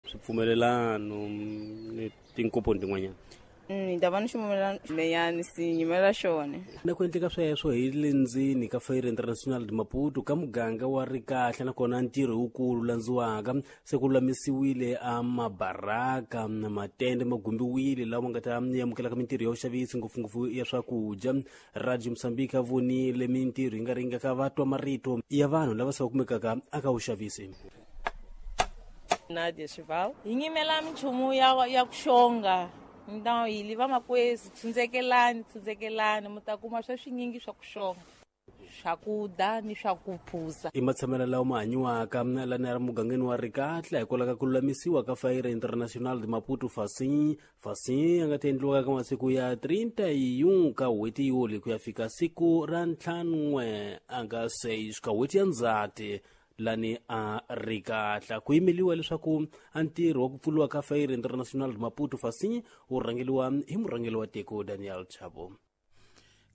Swipfumelelano ni tinkomponi tin'wanyana. Ni ta va ni xipfumelelano leyani si yimela xona. Na ku endleka sweswo hi le ndzeni ka Feira Internacional de Maputo ka muganga wa Rikahla, nakona ntirho wukulu landziwaka se ku lulamisiwile a mabaraka na matende ma gumbiwile lawa ma nga ta amukelaka mintirho ya vuxavisi, ngopfungopfu ya swakudya. Radio Mozambique a vonile mintirho yi nga ringaka va twa marito ya vanhu lava se va kumekaka aka vuxavisi. Nadia Chival hi nyimela minchumu ya ku xonga ndhawu hi li vamakwezu, tsundzekelani, tsundzekelani, mi ta kuma swa swinyingi swa ku xonga, swakudya ni swa ku phuza. I matshamelo lawa ma hanyiwaka lana ya mugangeni wa Rikatla hikwalaho ka ku lulamisiwa ka Feira Internacional de Maputo Facim Facim ya nga ta endliwaka ka masiku ya 31 ka n'hweti Yuli ku ya fika siku ra 5 anga 6 ka n'hweti ya Ndzhati lani a Rikatla. Ku yimeliwa leswaku a ntirho wa ku pfuriwa ka Feira Internacional de Maputo Facim wu rhangeliwa hi murhangeri wa tiko Daniel Chapo.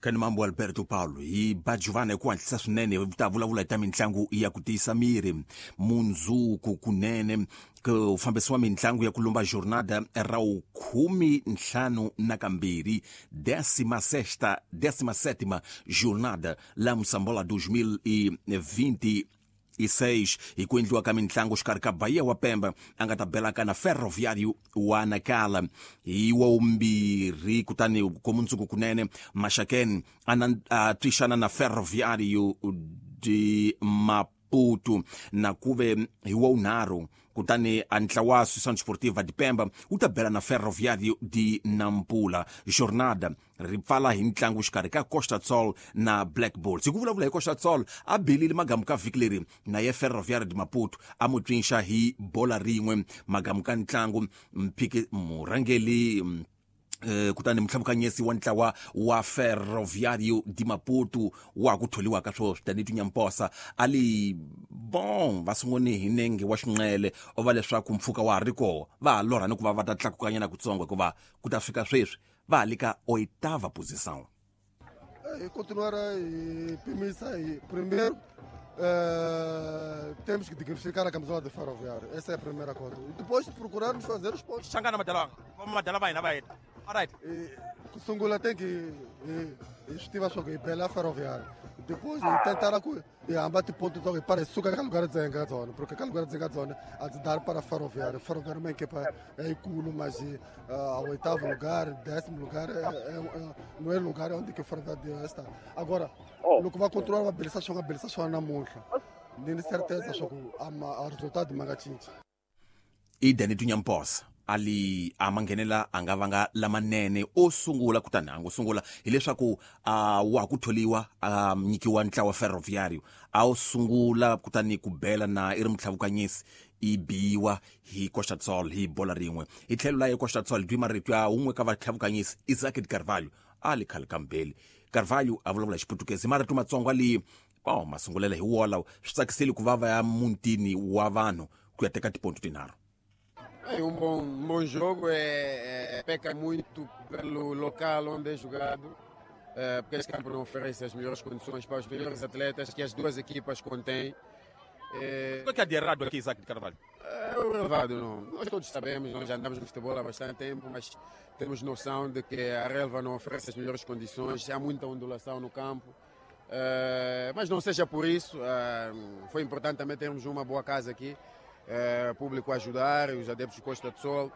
Kani mambo Alberto Paulo hi ba Giovanna hi ku hatlisa swinene ta vulavula hi ta mitlangu ya ku tiyisa miri. Mundzuku kunene ku fambisiwa mitlangu ya ku lumba jornada ra 52, 16ª, 17ª jornada la Moçambola 2026 hi ku endliwa ka mitlangu xikarhi ka Bahia wa Pemba a nga ta belaka na Ferroviário wa Nacala hi wa 2, kutani komundzuku kunene Maxaken a twixana na Ferroviário de Maputo, na kuve hi wa 3 kutani a ntlawa Associação Desportiva de Pemba wu ta bela na Ferroviário de Nampula. Jornada ri pfala hi ntlangu xikarhi ka Costa Sol na Black Bulls. Hi ku vulavula hi Costa Sol, a belile magamu ka vhiki leri na ye Ferroviário de Maputo, a mu tswinxa hi bola rin'we magamu ka ntlangu. Mphiki murhangeli, kutani mutlhavukanyesi wa ntlawa wa Ferroviário de Maputo wa ku tholiwaka swoswi Danito Nyamposa a li bon va sunguni hi nenge wa xinqele o va leswaku mpfhuka wa ha ri koho, va ha lorha ni ku va va ta tlakukanyana kutsongo, hikuva ku ta fika sweswi va ha le ka oitava posição. E continuar a pimisa e primeiro temos que dignificar a camisola de Ferroviário. Essa é a primeira coisa. E depois procurarmos fazer os pontos. Xangana madala madala va hina va heta. Alright. E, ku sungula tem que hi swi tiva swa ku hi bela Ferroviário. Depois hi tentar ku hi hamba tiponto ta ku hi para hi suka ka lugar dzenga ka dzona, porque ka lugar dzenga dzona a dzi dar para Ferroviário. Ferroviário é uma equipa yikulu, mas ao oitavo lugar, 10º lugar, não é lugar onde que o Ferroviário deve estar. Agora, loko va continuar va belisa swona, belisa swona namuntlha, ni ni certeza swa ku a resultado ma nga cinci. I Danito Nyamposa ali a manghenela a nga vanga lamanene o sungula, kutani a ngo sungula hileswaku a wa ku tholiwa, a nyikiwa ntlawa Ferroviário, a wu sungula kutani ku bela na i ri mutlhavukanyisi i biwa hi Costa Sol hi bola rin'we. Hi tlhelo la ye Costa Sol twi marito ya un'we ka vatlhavukanyisi Isaac de Carvalho a li khale ka mbeli. Carvalho a vulavula hi Xiputukezi, marito matsongo ali oh masungulela hi wolawo swi tsakisile ku va va ya mutini wa vanhu ku ya teka tiponto tinharhu. É um bom jogo, peca muito pelo local onde é jogado, porque este campo não oferece as melhores condições para os melhores atletas que as duas equipas contêm. O que é de errado aqui, Isaac de Carvalho? É o relevado, não. Nós todos sabemos, nós já andamos no futebol há bastante tempo, mas temos noção de que a relva não oferece as melhores condições, há muita ondulação no campo. Mas não seja por isso, foi importante também termos uma boa casa aqui, público a ajudar, os adeptos de Costa do Sol.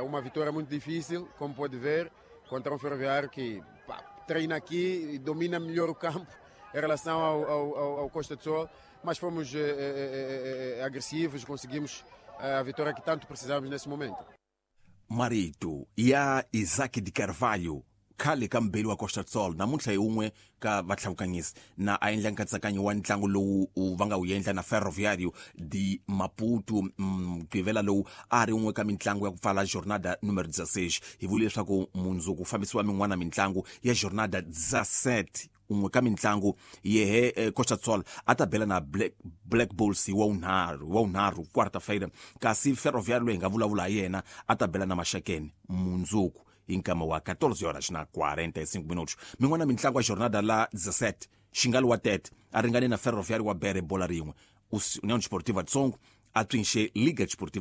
Uma vitória muito difícil, como pode ver, contra um Ferroviário que, pá, treina aqui e domina melhor o campo em relação ao Costa do Sol, mas fomos agressivos, conseguimos a vitória que tanto precisávamos nesse momento. Marito ya Isaac de Carvalho, khale ka mbeli wa Costa Sol, namuntlha hi un'we ka vatlhavukanyisi na a endla nkatsakanyo wa ntlangu lowu va nga wu endla na Ferroviário de Maputo mugqivela lowu a ri un'we ka mitlangu ya ku pfala jornada numero 16. Hi vule leswaku mundzuku fambisiwa min'wana mitlangu ya jornada 17. Un'we ka mitlangu yehe Costa Sol a ta bela na Black Bulls hi wa 3 quarta-feira, kasi Ferroviário loyi hi nga vulavula hi yena a ta bela na Maxakeni mundzuku hi nkama wa 14 horas na 45 minutos. Min'wana mitlangu ya jornada la 17, Xingali wa Tete a ringane na Ferroviário wa Bere bola rin'we. União Desportiva de Songo a tswinxe Liga Desportiva.